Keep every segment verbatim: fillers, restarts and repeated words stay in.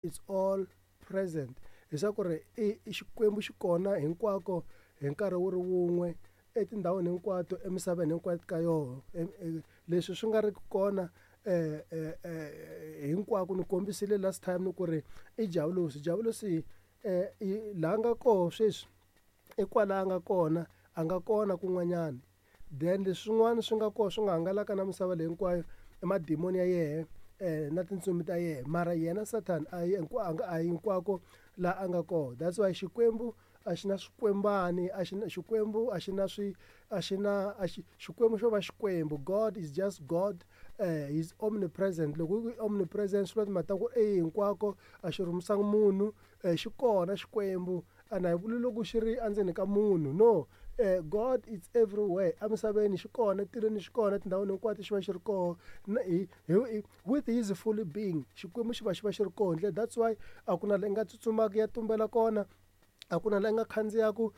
Is all present, leswaku ri i Xikwembu xi kona hinkwako hi nkarhi wu ri wun'we etindhawini hinkwato emisaveni hinkwayo ka yoho. Leswi swi nga ri ki kona hinkwako ni kombisile last time ni ku ri i javulosi. Javulosi laha nga koho sweswi i kwala a nga kona, a nga kona kun'wanyana. Then leswin'wana swi nga kona swi nga hangalaka na misava leyi hinkwayo i madimoni ya yehe na tintsumi ta yena, mara yena Satan a yi a hinkwako laha a nga kona. That's why Xikwembu a xi na swikwembani, a xi na Xikwembu a xi na swi a xi na a xi Xikwembu xo va Xikwembu. God is just God, uh, is omnipresent. Loko ku omnipresent swi vula timhaka ta ku i hinkwako, a xi rhumisangi munhu, xi kona Xikwembu. A na hi vuli loko xi ri endzeni ka munhu, no. Uh, God is everywhere. Emisaveni xi kona, etilweni xi kona, etindhawini hinkwato xi va xi ri koho. Hi hi with his fully being, Xikwembu xi va xi va xi ri koho. That's why a ku na la i nga tsutsumaka ya tumbela kona, a ku na la i nga khandziyaku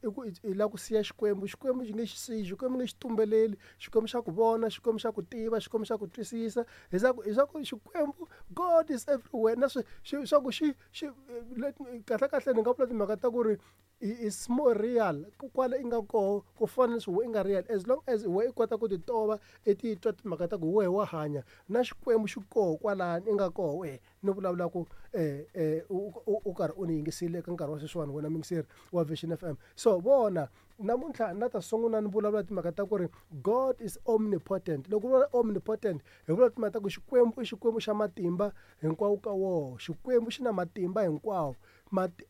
i ku i lava ku siya Xikwembu. Xikwembu xi nge xi siyi, Xikwembu nge xi tumbeleli, Xikwembu xa ku vona, Xikwembu xa ku tiva, Xikwembu xa ku twisisa. Hi swa ku hi swa ku Xikwembu, God is everywhere. Na swi swa ku xi xi kahle kahle ni nga vula timhaka ta ku ri is more real kwala i nga koho ku fana na leswi wehe i nga real. As long as wehe i kota ku ti tova, i titwa timhaka ta ku wehe wa hanya, na Xikwembu xi koho kwalani i nga koho wehe ni vulavulaka u karhi u ni yingisile eka nkarhi wa sweswiwani, wena muyingiseri wa Vision F M. So vona namuntlha na ta sungula ni vulavula timhaka ta ku ri God is omnipotent. Loko u vula omnipotent hi vula timhaka ta ku Xikwembu i Xikwembu xa matimba hinkwawo ka woho. Xikwembu xi na matimba hinkwawo,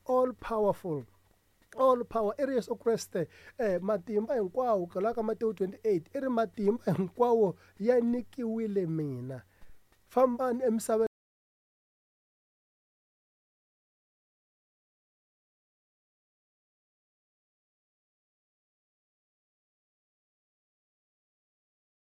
all powerful, all power. I ri Yesu Kreste eh matimba hinkwawo, kwalaho ka Matewu twenty-eight i ri matimba hinkwawo ya nyikiwile mina, fambani emisaveni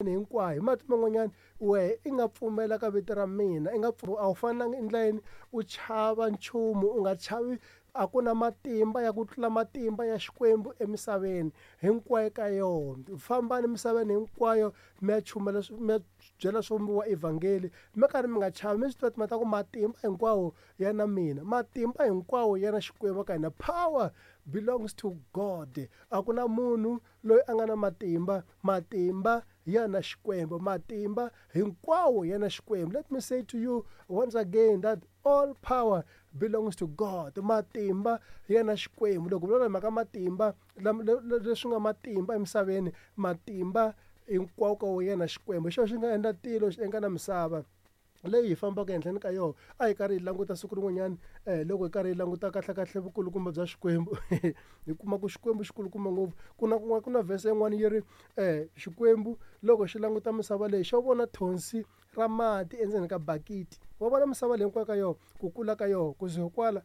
hinkwayo. Hi mati man'wanyana wehe i nga pfumela ka vito ra mina, i nga a wu fanelanga endla yini u chava nchumu, u nga chavi. A ku na matimba ya ku tlula matimba ya Xikwembu emisaveni hinkwayo ka yona. Fambani emisaveni hinkwayo mi ya chumela, mi ya byela swivumbiwa evhangeli, mi karhi mi nga chavi, mi swi tiva timhaka ta ku matimba hinkwawo ya na mina, matimba hinkwawo ya na Xikwembu ka hina. Power belongs to God. A ku na munhu loyi a nga na matimba, matimba ya na Xikwembu, matimba hinkwawo ya na Xikwembu. Let me say to you once again that all power belongs to God. Matimba ya na Xikwembu. Loko vulavula mhaka matimba, leswi nga matimba emisaveni, matimba hinkwawo ka wona ya na Xikwembu. Hi xona xi nga endla tilo, xi endla na misava leyi hi fambaka ehenhleni ka yona. A hi karhi hi languta siku rin'wanyana loko hi karhi hi languta kahle kahle vukulukumba bya Xikwembu, hi kuma ku Xikwembu xi kulukumba ngopfu. Ku na kun'wana ku na verse yin'wana yi ri Xikwembu loko xi languta misava leyi xo vona thonsi ra mati endzeni ka bakiti. Wa vona misava leyi hinkwayo ka yona, ku kula ka yona, kusuka kwala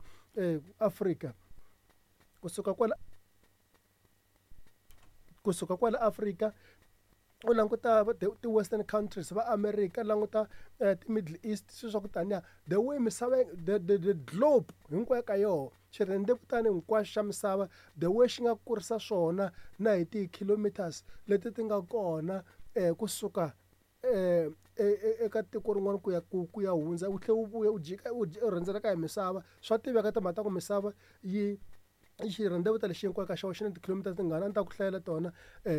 Afrika, kusuka kwala kusuka kwala Afrika u languta ti-western countries va America, languta ti-Middle East, swilo swa ku taniya. The way misava, the, the, the globe hinkwayo ka yona, xirhendzevutani hinkwaxo xa misava, the way xi nga kurisa swona na hi ti-kilometers leti ti nga kona kusuka eka tiko rin'wana ku ya ku ku ya hundza, u tlhela u vuya u jika u rhendzeleka hi misava. Swa tiveka timhaka ta ku misava yi xirhendzevutana lexi hinkwayo ka xona xi na ti-kilometers tingani, a ni ta ku hlayela tona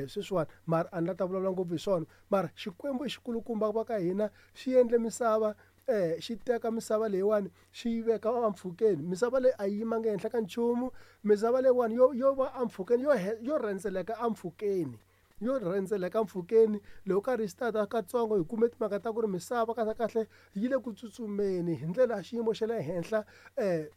sweswiwani, mara a ni la ta vulavula ngopfu hi swona. Mara Xikwembu i xikulukumba va ka hina, xi endle misava, xi teka misava leyiwani xi yi veka empfhukeni. Misava leyi a yi yimanga ehenhla ka nchumu, misava leyiwani yo yo va empfhukeni, yo yo rhendzeleka empfhukeni, yo rhendzeleka empfhukeni. Loko karhi hi start katsongo hi kume timhaka ta ku ri misava kahle kahle yi le ku tsutsumeni hi ndlela ya xiyimo xa le henhla,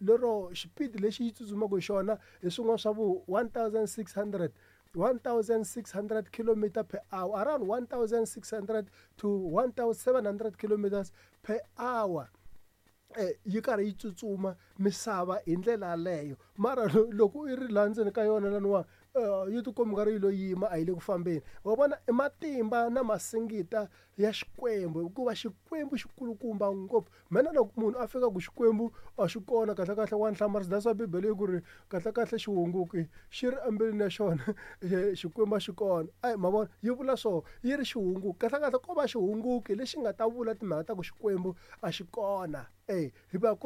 lero xipidi lexi yi tsutsumaka hi xona hi swin'wana swa vo one thousand six hundred one thousand six hundred kilometer per hour, around one thousand six hundred to one thousand seven hundred kilometers per hour. Yi karhi yi tsutsuma misava hi ndlela yaleyo. Mara loko i ri laha ndzeni ka yona laniwa yi tikomba nga ri yi lo yima a yi le ku fambeni. Wa vona i matimba na masingita ya Xikwembu hikuva Xikwembu xi kulukumba ngopfu. Mhena loko munhu a fika ku Xikwembu a xi kona kahlekahle wa ni hlamarisa that's why Bibele yi ku ri kahlekahle xihunguki xi ri embilwini ya xona Xikwembu a xi kona. A ma vona yi vula swo yi ri xihunguki kahlekahle ko va xihunguki lexi nga ta vula timhaka ta ku Xikwembu a xi kona e hikuva ku.